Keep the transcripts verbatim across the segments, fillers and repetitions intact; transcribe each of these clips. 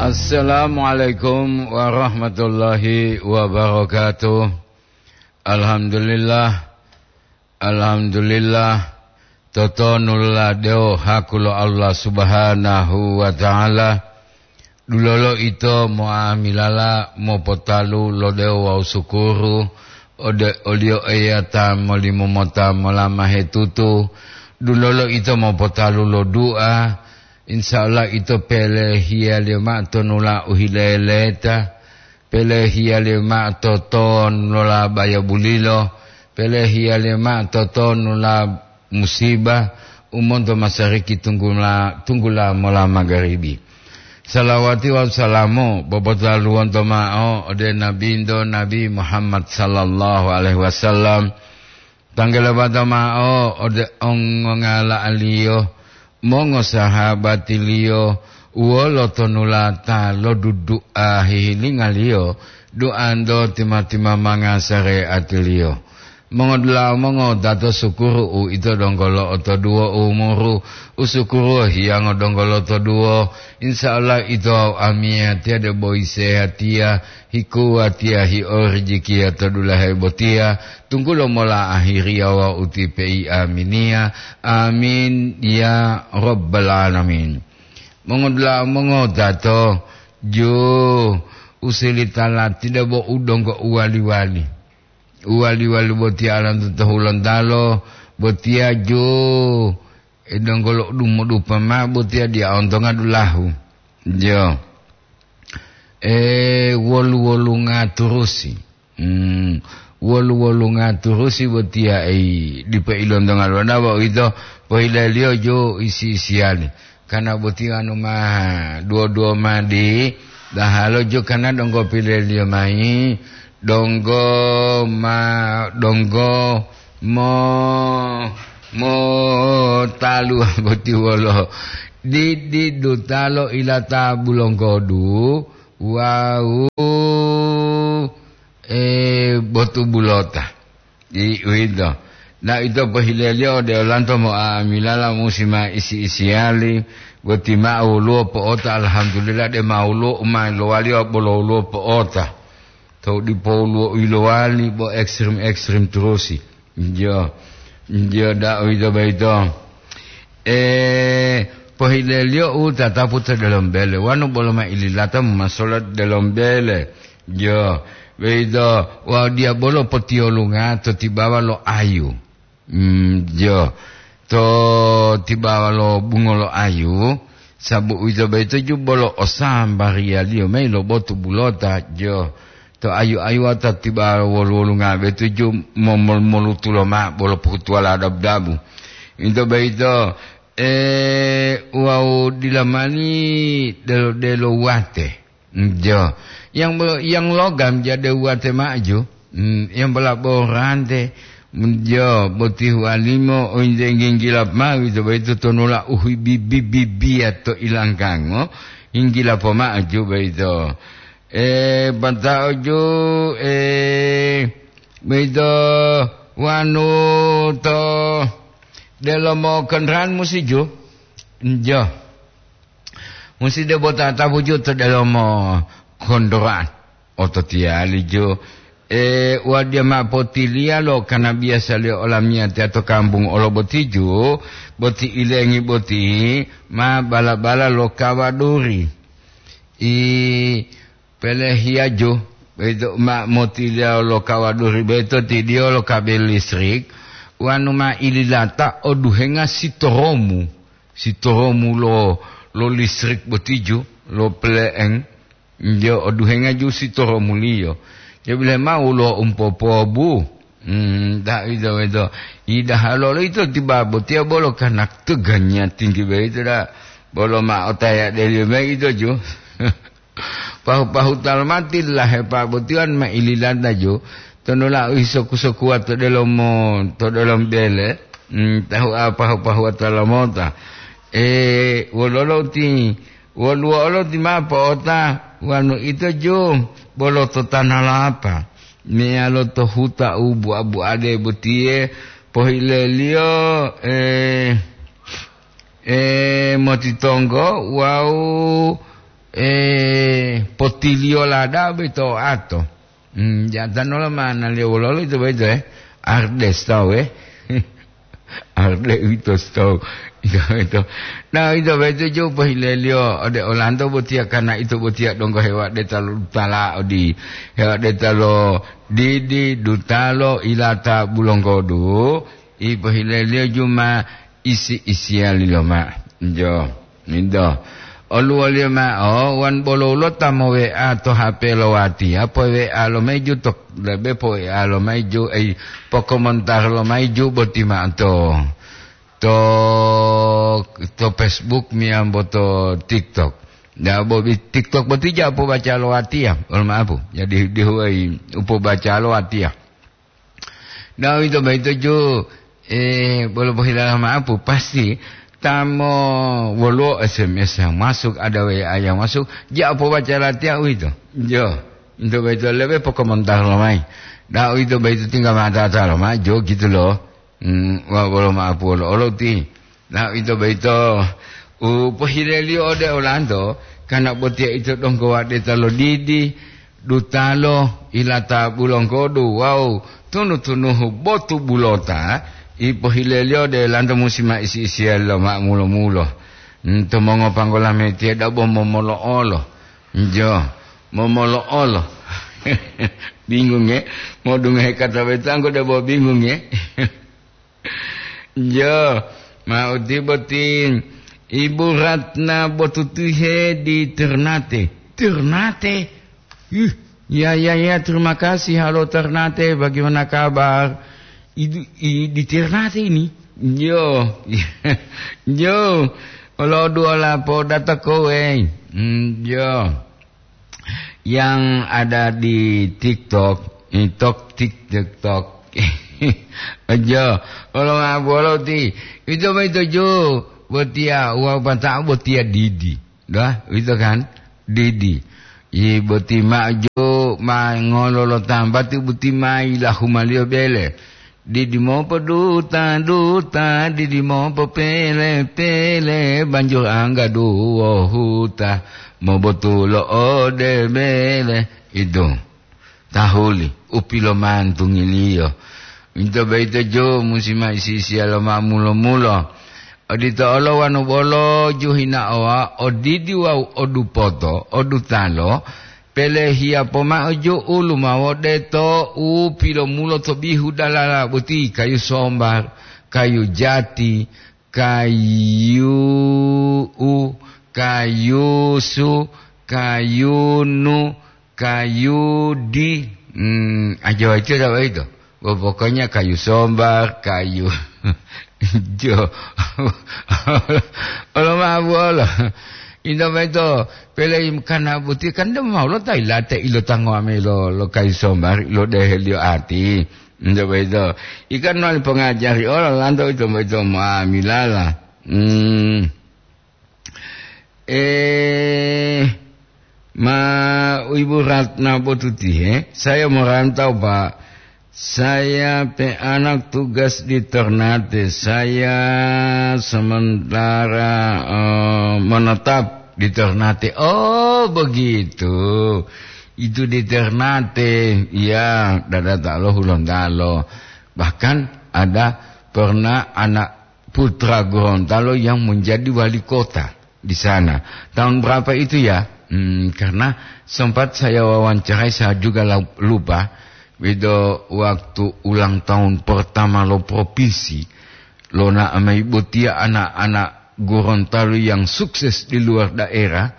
Assalamualaikum warahmatullahi wabarakatuh. Alhamdulillah, alhamdulillah. Totonulade haku lo Allah Subhanahu wa Ta'ala. Dulolo ito moamilala mopotalu lo dewo wawu sukuru ode oliyo Eya ta molimo mota molama hetutu. Dulolo ito mopotalu lo dua. Insya Allah ito pelehiyaliyo ma'o tonula u hileleta, pelehiyaliyo ma'o totonula bayabulilo, pelehiyaliyo ma'o totonula musibah u monto masariki tunggula, tunggula mola magaribi. Salawati wawu salamu popotaluwonto ma'o ode Nabinto Nabi Muhammad sallallahu alaihi wasallam. Tanggalabata ma'o ode ongongala'aliyo, mongosahabatiliyo, wolo tonulata lo dudu'a hihilingaliyo, duanto tima-timamanga sareatiliyo. Mongodula'a mongotato sukuru uito donggo lo'otoduwo umuru, usukuruwo hiyango donggo lotoduwo. Insya Allah ito wawu amiyatiya debo yisehatiya, hikuwatiya hiorijikiya to dulahe botiya, tunggulo mola ahiriya wawu ti pei aminiya. Amin ya rabbal alamin. Mongodula'a mongotato, ju usilitalati debo u donggo uwali-wali. Uwali-wali botiya alanto to Hulontalo, botiya ju, e, donggo lo dumodupa ma'o botiya diya ontonga dulahu. Jo. E, wolu-wolunga turusi. Hmm, wolu-wolunga turusi botiya, e, dipo ilontonga lona bo ito pohileliyo ju isi-isiyali. Kana boti wanu ma duwo-duwo madi, dahalo jo kana donggo pileliyo mayi, donggo ma, donggo mo, mo talu boti wolo. Didi dutalo ilata bulonggodu, wawu, e, botu bulota. Di uwito. Na ito pohileliyo ode olanto mo'amilala musi ma isi-isiyali, boti ma woluwo po'ota, alhamdulillah, de ma woluwo u ma lowaliyo bolo woluwo po'ota. Tou dipo woluwo u yilowali bo ekstrim-ekstrim turusi. Njo, njo da uwito boyito. E, pohileliyo u tatapu to delomo bele, wanu bolo ma ililata momasola delomo bele. Jo, boyito wawu diyabolo potiyolunga to tibawa lo ayu. Mm, jo, to tibawa lo bungo lo ayu, sabu uwito boyito ju bolo o sambariyaliyo mayi lo botu bulota, jo, to ayu-ayuwa to tibawa wolu-wolunga boyito ju momol-, molutulo ma'o bolo pohutuwala dabu-dabu. Uwito boyito, e, wawu dila mani delo-delo wate. Njo. Yang, yang logam jade uwate ma'o ju. Hmm, yang bola borante. Njo, boti huwalimo, ointe nginggilap ma'o, ito boyito tonula uhibibibiya to ilangkango. Nginggilap ma'o ju boyito. E, pata'o ju, e, boyito wanu to delomo kendaraan musi ju. Njo. Musi debo tatapu ju to delomo kondoran. Ototiyali ju, e, wadiya ma potiliya lo kana biyasaliyo olamiyatiya to kambungu olo boti ju, boti ilengi boti ma bala-bala lo kawaduri. I pelehiya ju, boyito ma motiliya lo kawaduri boyito tidiyo lo kabel listrik, wanu ma ililata oduhenga sitoromu. Sitoromu lo, lo listrik boti ju, lo pleng, njo oduhenga ju sitoromuliyo. Jabile ma'o woluwo umpopobu. Hmm, da ito, ito. Idahalo lo ito tiba botiya bolo kana teganya tinggi boyito da. Bolo ma otaya deliyo mayi ito ju. Pahu-pahu talmati lahepa botiwan ma ililanta ju, tonola u hisoku-sokuwa to delomo, to delomo bele, mm, tahu a pahu-pahuwa talamota. E, wololo ti, woluwo olo ti ma po'ota, wanu ito ju, bolo to tana lapa, meyalo to huta u bua-buade botiye, pohileliyo, e, e, motitonggo wawu, e, tiliyola da'a boyito oato. Hmm, jatanola manaliyo wololo ito boyito, eh? Ardes tawu, eh? Arde uwito sitowu. Ito boyito. Na, ito boyito ju pohileliyo ode olanto botiya, karna ito botiya donggo hewadeta lo dutala odi, hewadeta lo didi, dutalo, ilata, bulonggodu, i pohileliyo ju ma isi-isiyali loma. Jo. Minto. Oluwoliyo mao, wan bolo ulo ta mo-WA to H P lo watiya, po-WA lomayi ju to, lebe po-WA lomayi ju, ei, pokomontar lomayi ju boti mao to, to, to Facebook meyambo to TikTok. Nda bo bi-, TikTok boti ja pobaca lo watiya, mohon maaf, jadi dihuwayi u pobaca lo watiya. Nah, uwito boyito ju, eh, bolo pohilala ma'apu, pasti ta mo woluwo S M S yang masuk, ada W A yang masuk, ja pobaca latiya uwito. Jo, uwito boyito lebe pokomontar lomayi. Nah, uwito boyito tinggal mata-mata lomayi, jo gitu loh. Hmm, wa-, bolo ma'apu wolo olo ti. Nah, uwito boyito u pohileliyo ode olanto, karna botiya ito donggo wadeta lo didi, dutalo, ilata bulonggodu wawu tunu-tunuhu botu bulota, i pohileliyo ode olanto musi ma isi-isiyali lo ma'amulo-mulo. Hmm, to mongopanggola metiye dabo momolo'olo. Jo, momolo'olo. Bingung, ya? Modungohe kata boyito anggo debo bingung, ya? Jo, ma uti boti Ibu Ratna Botutihe di Ternate. Ternate? Ih, ya, ya, ya, terima kasih. Halo Ternate, bagaimana kabar? Idu-, i-, di Ternate ini? Jo, jo, olo duola podata kowe. Hmm, jo. Yang ada di TikTok, TikTok, TikTok. Aja, olo ma'apu olo ti. Ito boyito ju, botiya, wawu pata'o botiya didi. Dah, ito kan? Didi. Yi boti ma'o ju, ma ngolo lo tambati boti ma yilahumaliyo bele. Didi mopoduta-duta, didi mopopele-pele, banjur angga duwohuta, mobotulo ode bele. Itu, tahuli, u pilomantungiliyo. Uwito boyito ju musi ma isi-isiya lo ma'amulo-mulo. Odito olo wanu bolo ju hinaowa, odidi wawu odupoto, odutalo, pelehiya pomao ju'u lumawo deto u pilomulo to bihu dalala boti, kayu sombar, kayu jati, kayu u, kayusu, kayunu, kayudi. Hmm, ajawa itu ada itu. Bo pokoknya kayu sombar, kayu jo. Olo ma'apu olo. Inta boyito, pele im-, kana boti kan de mau lo ta ilate ilo tango ame lo, lo kayu sombar, lo deheliyo ati. Inta boyito. Ikan mali pongajari olo lanto ito boyito ma milala. Hmm. Eh, ma Ibu Ratna Botuti, eh? Saya merantau, Pak. Saya pe anak tugas di Ternate. Saya sementara, eh, menetap di Ternate. Oh, begitu. Itu di Ternate. Ya, dada talo Hulontalo. Bahkan ada pernah anak putra Gorontalo yang menjadi wali kota di sana. Tahun berapa itu ya? Hmm, karena sempat saya wawancarai, saya juga la-, lupa. Itu waktu ulang tahun pertama lo provinsi, lo na amai botia anak-anak Gorontalo yang sukses di luar daerah,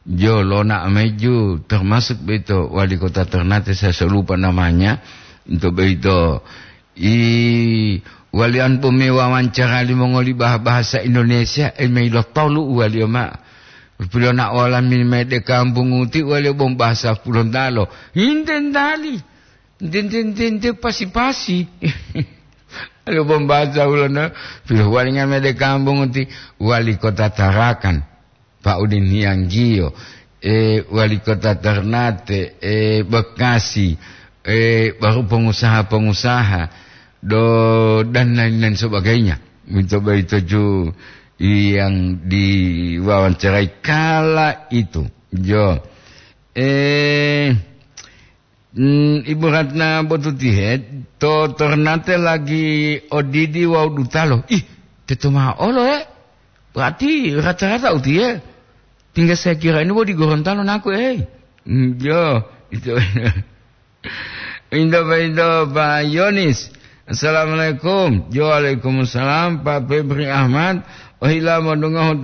jo lo na amai ju, termasuk beito wali kota Ternate, saya so lupa namanya, untuk beito I waliyan po me wawancara limongoli bah-, bahasa Indonesia, e, me ilotolu uwaliyo ma'o. Pilona'o lami mede kampung uti uwaliyo bom bahasa Hulontalo. Hinte ntali. Nte, nte, nte, nte, pasi-pasi. Aliyo bom bahasa Hulontalo. Pilohuwalinga mede kampung uti wali kota Tarakan. Pak Udin Hiyanggiyo, eh, wali kota Ternate, eh, Bekasi, eh, baru pengusaha-pengusaha, do-, dan lain-lain sebagainya. Mencoba itu ju yang diwawancarai kala itu. Jo. Eh, mm, Ibu Ratna Botutihe, to Ternate lagi odidi wawu dutalo. Ih, teto ma'o olo, eh? Berarti rata-rata utiye. Tinggal saya kira ini bo di Gorontalo naku, eh. Mm, yo, itu. Indo, indo, Pak Yonis. Assalamualaikum. Yo, waalaikumsalam, Pak Febri Ahmad. Ohila modungohu